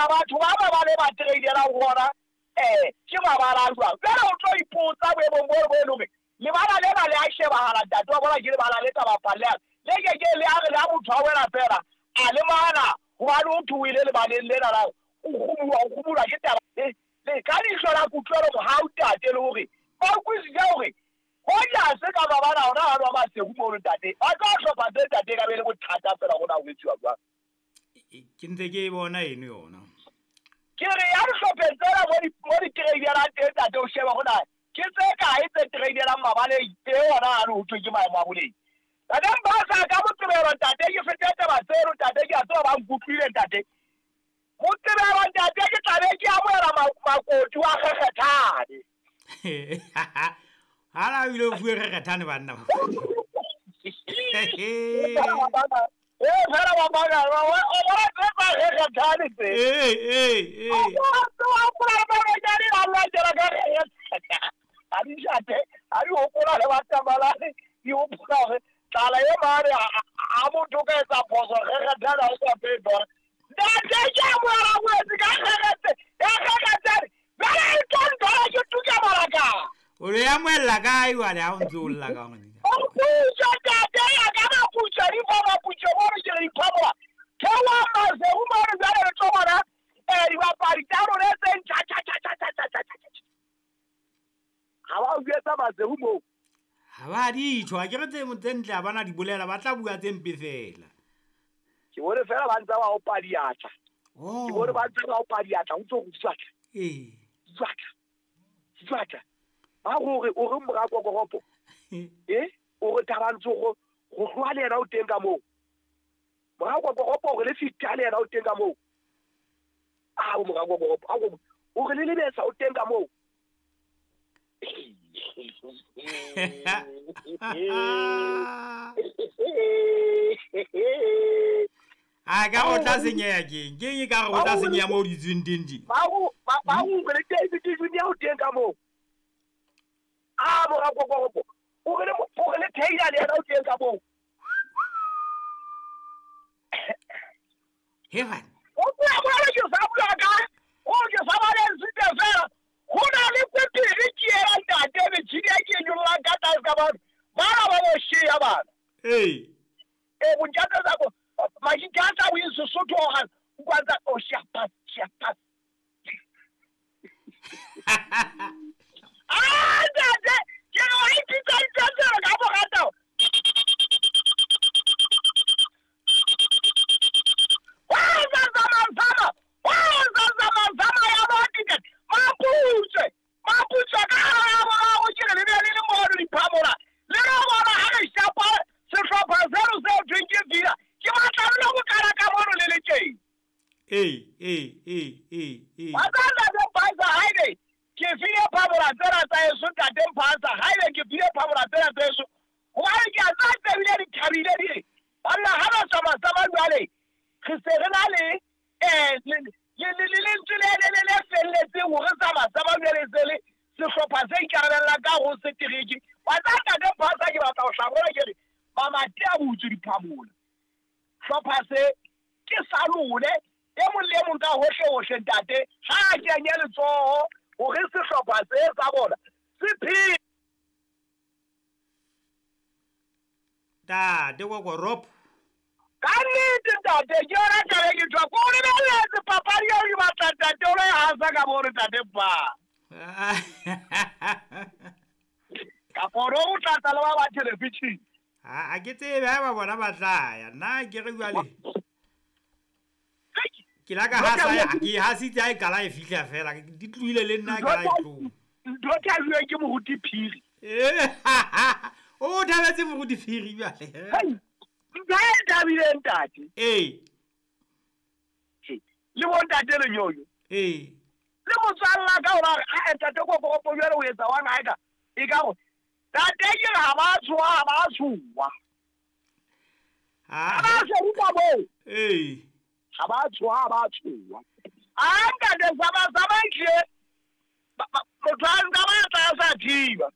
na batho ba ba ba le ba tradelang gona ke mabala a jwang? Jwale o tlo ipotsa boemong bo bo e le hore lebala lena le a shebahala ntate wa bona ke lebala le ka bapalleang le ke ke le a re le ha motho a wela fela a lemala hobane o thwe o ile lebaleng lena la o kgumulwa ke taba le ka leihlo la kutlwelo mohau tate le hore ba utlwisise hore hoja se ka mabala ona a nwa Maseru mono ntate ba tlo hlopha tse ntate ka be le bothata fela gona ho etsuwa jwang. Ke ntse ke e bona eno yona. Ke re ya dihlopheng tsena mo di tradelang teng ntate o sheba gona ke tse kae tse tradelang mabaleng e ona a le ho thwe ke maemo a boleng. Ntate Mpasa ka Moqebelo ntate ke fete taba tseno ntate ke a tseba ba nkutlwile ntate. Moqebelo ntate ke tlabe ke amohela makoti wa Kgekgethane. Hala o ile o fuwe Kgekgethane banna. Fela ba baka o bona tse tsa Kgekgethane tse. Ee. O bona tse wa hopola le Marojane a lwantela ka Kgekgethane. A di shate, a di hopola le Batamalane, di hopola hore tlala e mane a motho o ka etsa phoso Kgekgethane ha o sa phetwa. Ntate ke amohela ngwetsi ka Kgekgethane. Jwale e tlo nthola ke tuka malaka. O le amohella kae jwale ha o ntse o lla ka hore? O putswa ntate ya ka maputswa di fa maputswa mono ke re iphamola. Theoha Maseru mono jwale re tlo bona dibapadi tsa rona tse ntjha tjha tjha tjha tjha tjha tjha. Ha ba o jwetsa Maseru moo. Ha ba ditjho, ha ke re tse ntle ha bana di bolela, ba tla bua tse mpe fela. Ke bone fela ba ntse ba opa diatla. Ke bone ba ntse ba opa diatla, o ntso go jwatla. Ee. Jwatla. Jwatla. Ba gore o re mora kokoropo. O re Thabantso go tloha le yena o teng ka moo. Mora kokoropo o re le fita le yena o teng ka moo. A o mora kokoropo, a o re le lebesa o teng ka moo. A ka o tla senyeha keng? Keng e ka re o tla senyeha moo ditsweng teng tje? Ba go re le David Junior o teng ka moo. A mora kokoropo o re le Taylor le yena o teng ka moo. Hevan. O bua bua ke sa bua ka o ke sa ba le ntse fela. Ho na le kwepiri ke ela ntate metjhini e ke nyollang ka tlase ka batho. Bana ba bo shea bana. Ee. Bontjatsa tsa bo majitha a tla o Sesotho o hang o kwantsa o shapa shapa. Ah ntate ke re wa ipitsa ntse ka borata. Wa zama wa zama ya ba ticket. Maputswe ka ya bona go ke re le be le le mono diphamola. Le re bona ha re shapa sehlopha seno seo thweng ke Villa. Ke batla le go kala ka mono le le teng. Ee. Wa tsana le Mpasa haebe ke file phamola tsena tsa eso ntate Mpasa haebe ke file phamola tsena tsa eso. Hobane ke a tsa tsebile di thabile di re. Banna ha ba tsamaya jwale re se re na le le lentswe le felletseng hore tsamaya jwale se le sehlopha se ikarabellang ka ho setereke. Wa tsa ntate Mpasa ke batla ho hlabola ke re mamati a butswe diphamola. Hlopha se ke sa lone e mong le mong ka hohle hohle ntate ha a kenye letsoho hore sehlopha se sa bona se phele. Ntate Kokoropo. Ka nnete ntate ke yona taba e ke tshwa ko o lebelletse papadi eo ke batla ntate o lo e hasa ka mono ntate Mpa. Kapa o no tlatsa le ba ba television. Ha ke tsebe ha ba bona ba tla ya nna ke re jwale. Ke la ka hasa ke hasitse ha e kala e fihla fela di tlohile le nna ka la e tloha. Ntho thabiwe ke moruti Phiri. O thabetse moruti Phiri jwale. Ntho e thabile ntate. Ee. Le bo ntate Lenyonyo. Ee. Le motswalla ka hore a ntate Kokoropo jwale o etsa wa ngae ka e ka go ntate ke ha ba tshoha ha ba tshoha. Ha ba tshoha moo. Ee. Ha ba tshoha ha ba tshoha. A ntate sama ke motho a ntse ba tla sa thiba.